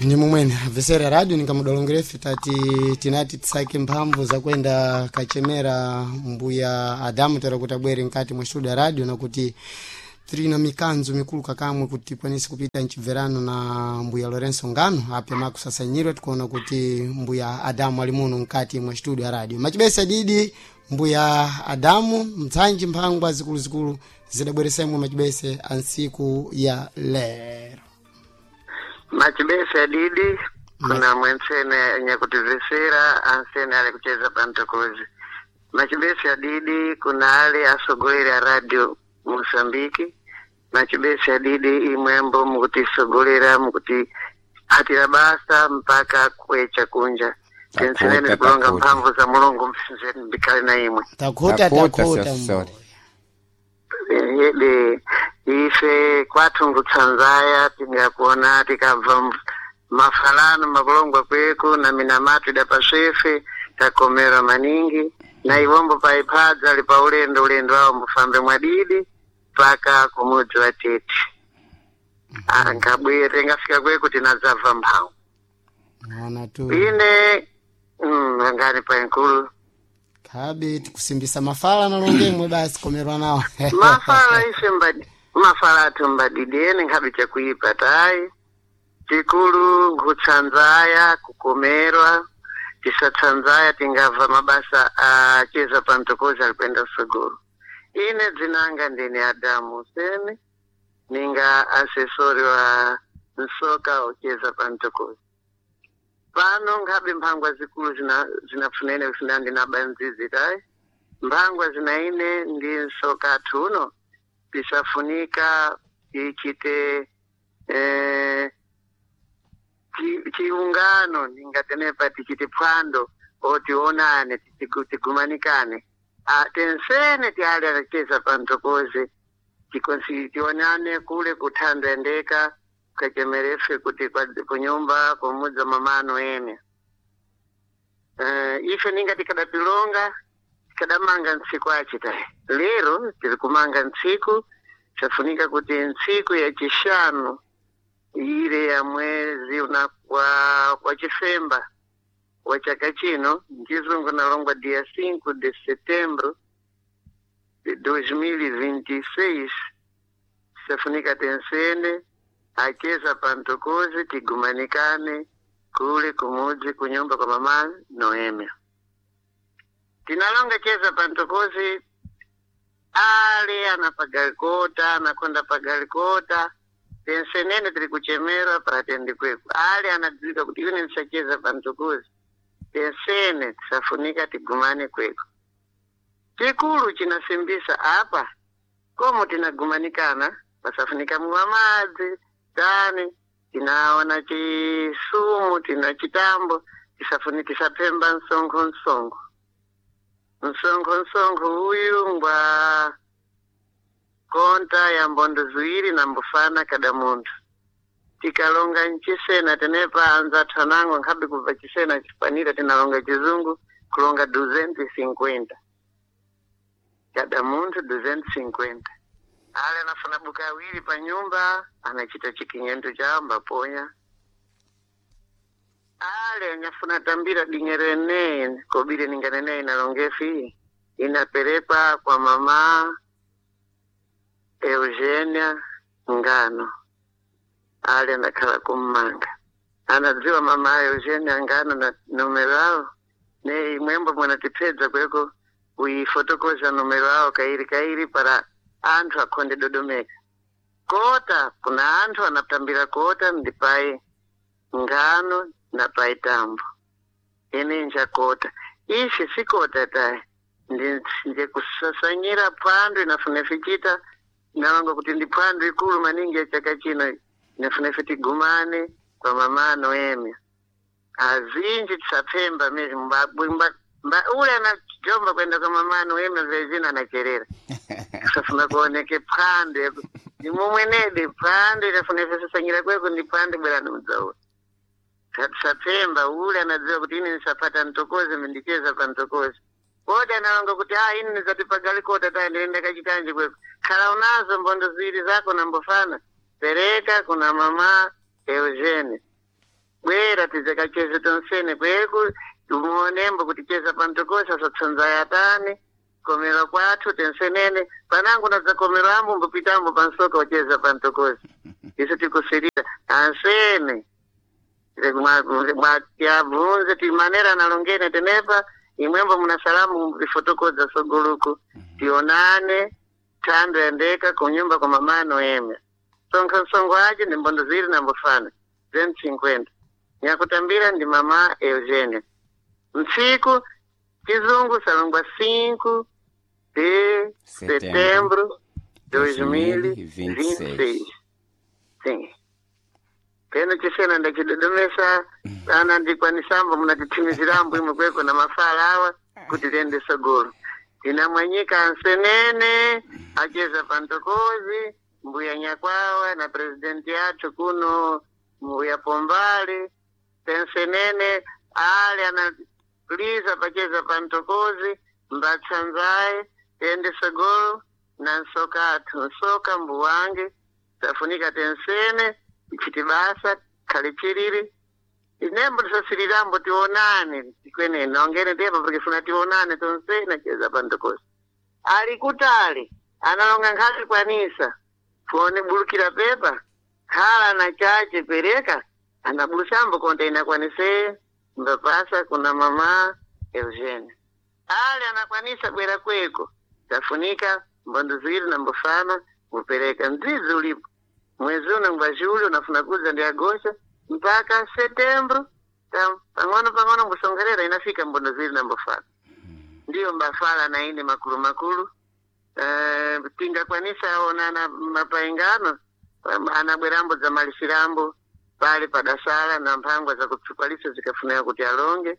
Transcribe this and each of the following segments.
Ni mumwene abvesera radio ningamudolongerefe tati tinati tisake mphamvu zakwenda kachemera mbuya Adamu tera kuti abwere mkati mwa studio ya radio, nakuti tiri na mikanzo mikulu kakamwe kuti tikwanise kupita mchibverano na mbuya Lorenzo Ngano apya makusasanyirwe. Tikuona kuti mbuya Adamu ali muno mkati mwa studio ya radio. Machibesa didi mbuya Adamu mtsanji mphangwa zikuluzikulu zidabweresa imwe machibese ansiku ya lero. Machibese adidi kuna mwensene nyakutivesera ansene ali kucheza pantokozi. Machibese adidi kuna ale asogolera a radio Mosambiki. Machibese adidi imwembo mukutisogolera mukuti hatira basa mpaka kwecha kunja. Tensenene Takuta, kulonga takuta. mphamvu za Mulungu msinzeni mbikale na imwe. Takuta. Takuta, takuta sio mbuya. sorry. Yede ife kwathu nkutsanzaya tingakuona tikabva mafalano makulongwa kweku na minamatu ida paswefe takomera maningi na iwombo paiphadza ali pa ulendo ulendo awo mbufambe mwadidi mpaka kumudzi wa tete. Ankabwere tingafika kweku tinadzabva mphamvu. Ona tu. Ine angani pa nkulu. Khabe tikusimbisa mafala nalongemwe basi komerwa nawo. Mafala ife mbadi mafala athu mbadidi ene nkhabe chakuipa tayi tikulu nkutsanzaya kukomerwa tisatsanzaya tingabva mabasa acheza pantokozi alikwenda sogolo. Ine dzinanga ndine Adamu Huseni ninga asesori wa nsoka ocheza pantokozi pano. Nkhabe mphangwa zikulu zinafunene kusina ndinabanzizi tayi mphangwa zinaine ndi nsoka athu uno tisafunika tichite chiungano ningatenepa tichite phwando otionane tigumanikane. Tensene tiali anacheza pantokoze tionane kule kuthando endeka kachemerefe kuti kunyumba kumudza mamano ene. Ife ninga tikadapilonga tikadamanga ntsiku achita lero tiri kumanga ntsiku chafunika kuti ntsiku ya chishanu ile ya mwezi una kwa chifemba wa chaka chino nchizungu nalongwa dia 5 de setembro de 2026 chafunika tensene acheza pantokozi tigumanikane kule kumudzi kunyumba kwa mama Noemia. Tinalonga cheza pantokozi ale anapagalikota anakonda pagalikota tensenene tiri kuchemerwa paratendi kweku ale anadzika kuti ine ndisacheza pantokozi tensene tisafunika tigumane kweku. Chikulu chinasimbisa apa komo tinagumanikana pasafunika mwa madzi tani tinaona chisumu tina chitambo tisafuni tisapemba msonkho msonkho msonkho msonkho uyu ngwa konta ya mbondo ziwiri na mbufana kada munthu. Tikalonga nchisena tenepa anzathu anango nkhabe kubva chisena chifanira tinalonga chizungu kulonga 250 kada munthu 250. Ale anafuna buka awiri pa nyumba anachita chikinyendo chawo mbaponya. Ale anyafuna tambira dinyero ene kobile ninganene inalongefi inaperekwa kwa mama Eugenia Ngano. Ale anakhala kummanga anadziwa mama Eugenia Ngano na numero awo ne imwembo mwanatipedza kweko uifotokoza numero awo kairi kairi para anthu akhonde dodomeka. Kota kuna anthu anatambira kota ndipai ngano na pai tambo ene njakota ishi sikota tayi nje kusasanyira phwando inafuna fichita nalonga kuti ndi phwando ikulu maningi ya chaka chino inafuna ife tigumane kwa mama Noemia. Azinji tisapemba mezi ule anajomba kwenda kwa mama Noemia vezina anacherera kusafuna kuoneke phwando nimumwenedi phwando inafuna ife sasanyira kweko ndi phwando bwerani mudzaula tisapemba ule anadziwa kuti ine nisapata ntokozi mindicheza pa ntokozi kodi analonga kuti a ine nizatipagali kota tayi ndienda kachitanje kweko khala unazo mbondo ziwiri zako nambofana pereka kuna mama Eugene. Bwera tizakacheze tonsene kweku tumuonembo kuti cheza pantokosa satsanza yatani komera kwathu tensenene panangu nadzakomera ambo mbopitambo pansoka ucheza pantokosa isu tikusirira ansene mwatiabvunze timanera analongene tenepa imwembo muna salamu ifotokoza sogoluku tionane thando yandeka kunyumba kwa mama Noemia sonkha msongo aje ndi mbondo ziwiri na mbofana 50 nyakutambira ndi mama Eugenia mtsiku chizungu salongwa 5 de setembro 2026. Sim. Peno chisena ndachidodomesa ana ndikwanisambo munatithimizirambo imwe kweko na mafala awa kuti tiende sogolo tinamwanyika ansenene acheza pantokozi mbuya nyakwawa na presidenti yathu kuno mbuya pombali tensenene ale analiza pacheza pantokozi mbatsanzaye tiende sogolo na nsoka athu nsoka mbuwange tafunika tensene ichitibasa khale chiriri inembo tisasirirambo tionane tikwenene nongene tepa pakifuna tionane tonsene cheza pantokozi ali kutali analonga nkhali kwanisa fone bulukira pepa khala na chache pereka anabulusambo konta inakwaniseye mbapasa kuna mama Eugenia ali anakwanisa bwera kweko tafunika mbondo ziwiri na mbofana mupereka mdzizi ulipo mwezi uno ngwa julho unafuna kuza ndi agosto mpaka setembro pang'ono pang'ono mbusongerera inafika mbondo ziwiri na mbofana ndiyo mbafala na ine makulu makulu tingakwanisa onana mapaingano anabwerambo za malisirambo pale padasala na mphangwa za kupsikwalisa zikafunira kuti alonge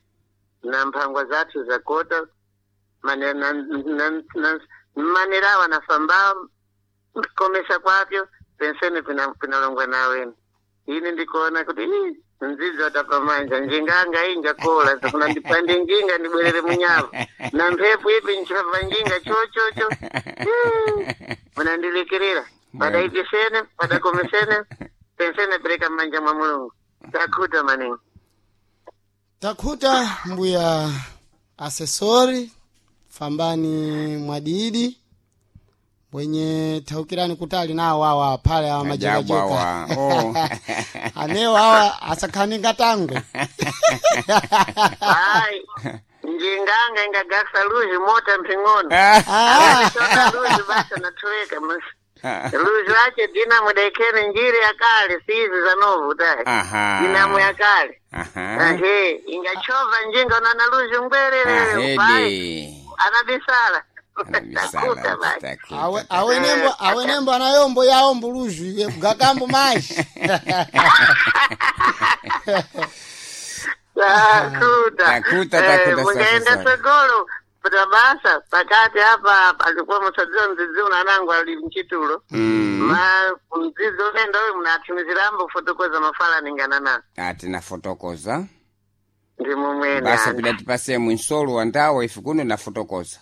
na mphangwa zathu zakota manerawa nafamba komesa kwapyo pensene pinalongwa naweni ine ndikuona kuti ii, nzidzo atapamanja njinganga iyi njakola zafuna ndipande njinga ndibwerere munyava na mphepo ipi nchapa njinga chochocho munandilekerera padaipisene padakomesene pensene pereka mmanja mwa mulungu takhuta maningi Takhuta mbuya asesori fambani mwadidi mwenye thaukirani kutali nawo awa phale awa Ajabu majekajeka awa. Oh. anewo awa asakhani ngatangwe hayi njinganga ingagasa luzi mota mphing'ono Ah. sona luzi basa natoweka luzi wache dinamo daikene njiri yakale sizi za novu tayi Aha. dinamo yakale Aha. ahe ingachova njinga unana luzi ngwerere pai Ahede. anabisala Anabisala, takuta basi takuta. Awe, awenembo anayombo yawo mbuluzu iwe kugakambo mashi takuta Takuta, takuta, mungaenda safi, safi. sogolo puta basa pakati apa alikuwa musadziwa mdzidzi unanangu ali mchitulo ma mdzidzi unaenda uyu munathimizirambo kufotokoza mafala ningana na Ati nafotokoza. ndi mumwene Basa anu. pidati mwinsolo wa ndawo ife kuno nafotokoza.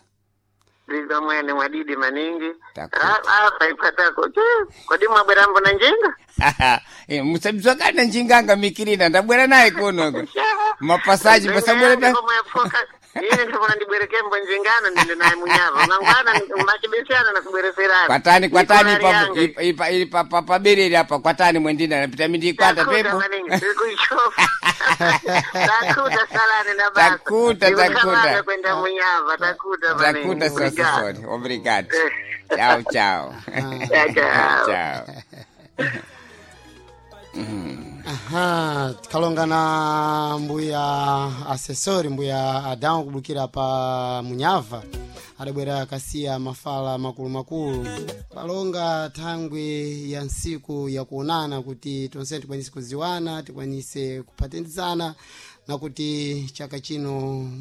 Ndizo mwene mwadidi maningi Takuta. apa iphatako kodi mwabwerambo na njinga Musabzwakana njinganga mikirina ndabwera naye kuno. Mapasaji pasabwera Ndinga komwe ine ndifuna ndibwerekembo njingano ndinde naye munyava mangwana machibesana na kubwereserana kwatani kwatani Nikona ipa liange. ipa ipa ipa pa paberere apa kwatani mwendina napita mindi kwata Takuta pepo maningi tikuichofa takuta salani na basa Takuta, takuta. Ndikukamanga kwenda munyava takuta maningi takuta sasa Obrigado. sorry obrigado ciao ciao Tchau, tchau. ciao Aha, tikalonga na mbuya asesori mbuya Adamu kubukira pa Munyava adabwera akasiya mafala makulumakulu palonga thangwi ya nsiku yakuonana kuti tonse tikwanise kuziwana tikwanise kuphatizana na kuti chaka chino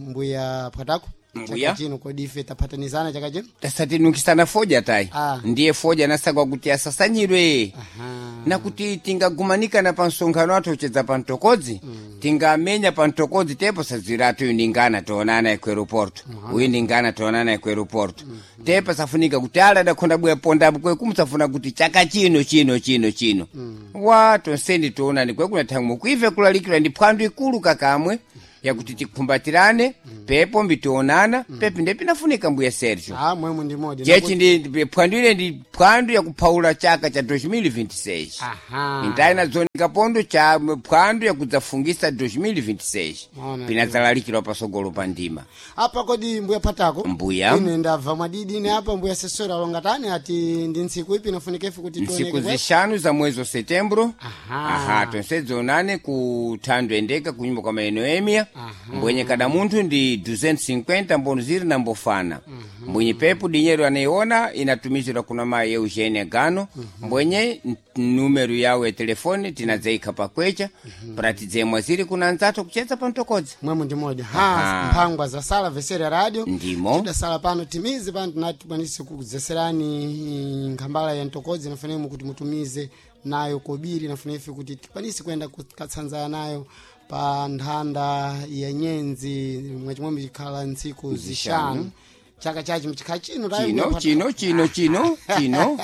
mbuya Pwatako Mbuya. Chaka chino kodi ife taphatanizana chaka chino? Tasatinukisana foja tayi. Ah. Ndiye foja nasakwa kuti asasanyidwe. Aha. Nakuti tingagumanikana pa msonkhano athu uchedza pa mtokodzi, tingamenya pa mtokodzi tepo sadziratu uyu ndingana toonana ku aeroporto, uyu ndingana toonana ku aeroporto. Tepo safunika kuti ala adakhonda bweya pondapo kweku musafuna kuti chaka chino chino chino chino wa tonseni toonani kwekuna thang'we kuive kulalikira ndi phwando ikulu kakamwe yakuti tikhumbatirane pepo mbitionana pepi ndiye pinafunika mbuya Sergio. Ah, mwemwe ndi modi. Chechi ndi phwando ile ndi phwando yakuphawula chaka cha 2026. Aha. Intayi na zonika pondo cha phwando yakudzafungisa 2026. Maona. Pinadzalalikirwa pasogolo pa ndima. Apa kodi mbuya patako? Mbuya. Ine ndabva mwadidi ine apa mbuya sesora alongatani ati ndi ntsiku ipi inafunika ife kuti Ntsiku tioneke kwe? zishanu za mwezi wa setembro. Aha. Aha, tonse dzonane ku thando endeka kunyumba kwa maeno emia. Aha. Mbwenye kada munthu ndi 250 mbono ziri na mbofana. Mbwenye pepu dinyero anaiona inatumizidwa kuna mayi Eugenia Gano. Mbwenye numero yawo ya telefoni tinadzaikha pakwecha pratidzemwa ziri kuna anzathu kuchedza pa mtokodzi. Mwemwe ndi modi. Ha, Aha. mphangwa za sala vesera radio. Ndimo. Tidasala pano timize pano tinati tikwanise kudzeserani nkhambala ya mtokodzi inafanemo kuti mutumize nayo kobiri inafuna ife kuti tikwanise kuyenda kukatsanzana nayo pa nthanda ya nyenzi mwachimwemwe chikhala ntsiku zishanu chaka chachi mchikhala chino tayi Chino mbuya chino chino chino chino.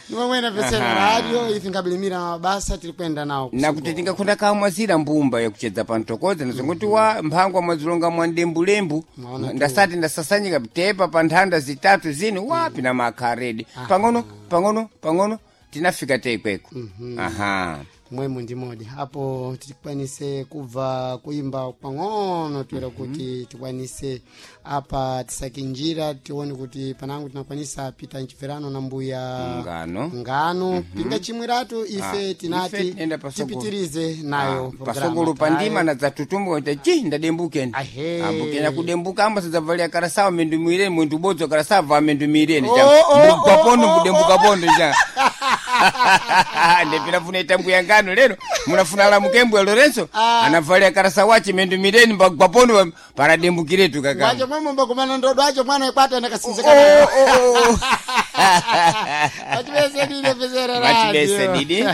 Nimwemwena vesera radio ife nkabilimira mabasa tiri kuyenda nawo Nakuti tingakhonda kamwazira mbumba yakuchedza pa mtokodzi nazongoti wa mphangwa mwazilonga mwa ndembulembu. Maona tu. Ndasati ndasasanyika tepa pa nthanda zitatu zino wapi na makharedi pang'ono pang'ono pang'ono tinafika teikweko. Aha. Mwemwe ndi modi apo tikwanise kubva kuimba pang'ono toera kuti tikwanise apa tisake njira tione kuti panango tinakwanisa pita mchibverano na mbuya Ngano. Ngano pinga chimwiratu ife Ah, ife tinati tiyenda pasogolo. tipitirize nayo Ah, pasogolo pa ndima na dzatutumbuka kuti chi ndadembukeni. Ahe. Ambukenya kudembuka amba sadzavalia karasawa mendumire mwindu bodzo karasawa va mendumireni Oh, oh, mbugwa pondo oh, oh, mbudembuka pondo cha ndepinafuna itambuya ngano lero munafuna lamuke ya Lorenzo. Ah. Anavalia karasawa mendumireni mbagwa pondo paradembukiretu kaka. Mwacho mwemwe mbakumana ndodo acho mwana ikwata Oh, ndakasinzika. oh, oh. Vachibese dide pesera Vachibese radio. didi.